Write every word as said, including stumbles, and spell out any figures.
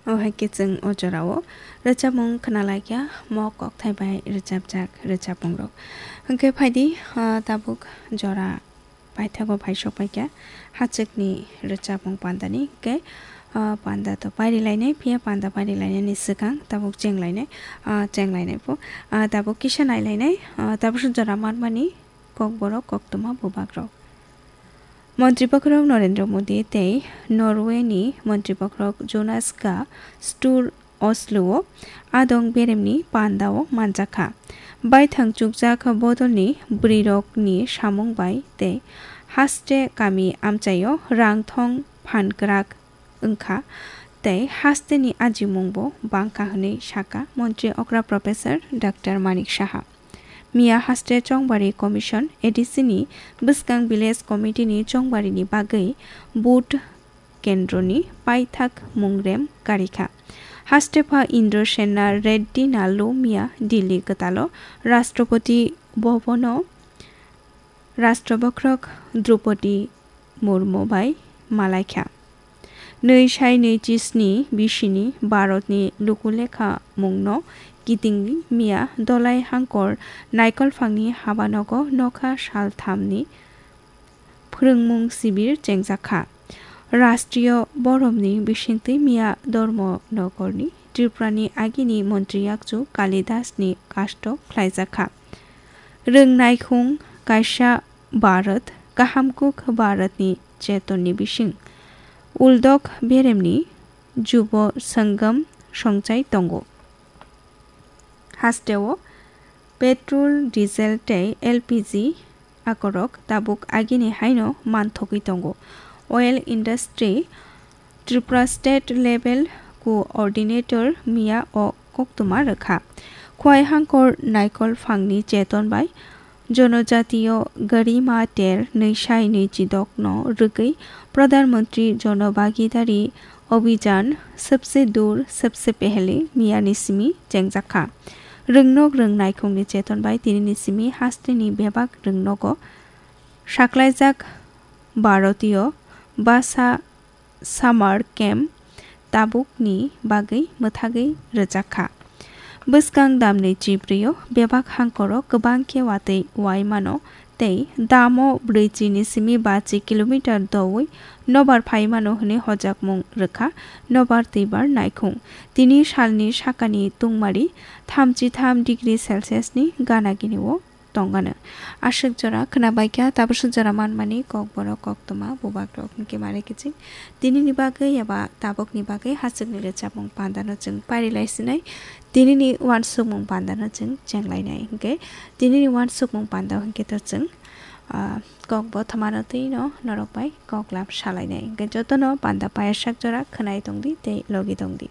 O hai khe chwng o jorao rwchapmung khna lai kha, mok kokthai bai rwchapjak rwchapmung rok. Hwnkhe phaidi, ah, tabuk jora paithago phai sok pai kha hachwkni rwchapmung pandani. Hwnkhe, ah, panda to pairi lainai, phiya panda pairi lainani swkang tabuk cheng lainai, ah, cheng lainai pho, ah, tabuk kisa nai lainai, ah, tabuk jora manmani kokborok koktwma bubak rok. Montri Bokhorok Narendra Modi tei Norway ni Montri Bokhorok Jonas Gahr Sture Oslo o adong beremni panda o manjakha. Baithang chukjak bodolni bwrwirokni samung bai tei haste kami amchaio rang thong phan kwrak wngkha tei hasteni ajimungbo bangkha hwnwi sakha Montri okra Professor Doctor Manik Saha. Miya haste Chongbari Commission, A D C ni bwskang Village Committee ni chongbarini bagwi vote kendroni paithak mungrem karikha. Hastepha Indrasena Reddy Nallu miya Delhi kwtalo Rashtrapati Bhavan o Rashtra Bokhorok Droupadi Murmu bai malaikha. Nwi sai nwi chisni bisini Bharatni lukulekha mungno kitingwi miya Dolai Hangkor Naikolphangni habanogo nokha salthamni phwrwngmung sibir chengjakha. Rashtriyo boromni bisingtwi miya Dharmanagarni Tripurani agini montri yakchu Kalidasni kasto khlaijakha. Rwng naikhung kaisa Bharat, kaham kuk Bharatni chetonni bising uldok beremni Jubo Sangam songchai tongo. Hasteo petrol, diesel tei L P G akorok tabuk agini haino manthogwi tongo. Oil industry Tripura state level coordinator miya o koktwma rwkha. Khwai Hangkor Naikolphangni cheton bai Jonojatiyo Garima ter nwi sai nwi chidokno rwgwi Pradhan Mantri Jon Bhagidari Abhijan Sabse Dur Sabse Pehle miyani simi chengjakha. Rwngnok rwng naikhungni cheton bai tinini simi hasteni bebak rwngnogo saklaijak Bharatiyo Basa Summer Camp tabukni bagwi mwthagwi rwjakha. Bwskang damni chibrwio bebak hangkoro kwbang khe watwi wai mano tei damo brwichi ni simi bachi kilometer doui nobar phai mano hwnwi hojakmung rwkha nobar twibar naikhung. Tini salni sakani tungmari thamchi tham degree Celsius ni gana gini o tongano. Aswk jora khwnabaikha, tabuk swk jora manmani kokborok koktwma bubakrok hwnkhe mare kiching. Tinini bagwi eba tabukni bagwi hachwkni rwchapmung pandano chwng parilai sinai. Tinini uansukmung pandano chwng chenglainai hwnkhe, tinini uansukmung panda hwnkhe to chwng, ah, kokbo thwmano twino norok bai koklam salainai. Hwnkhe jotono panda paiyasak jora khwnai tongdi tei logi tongdi.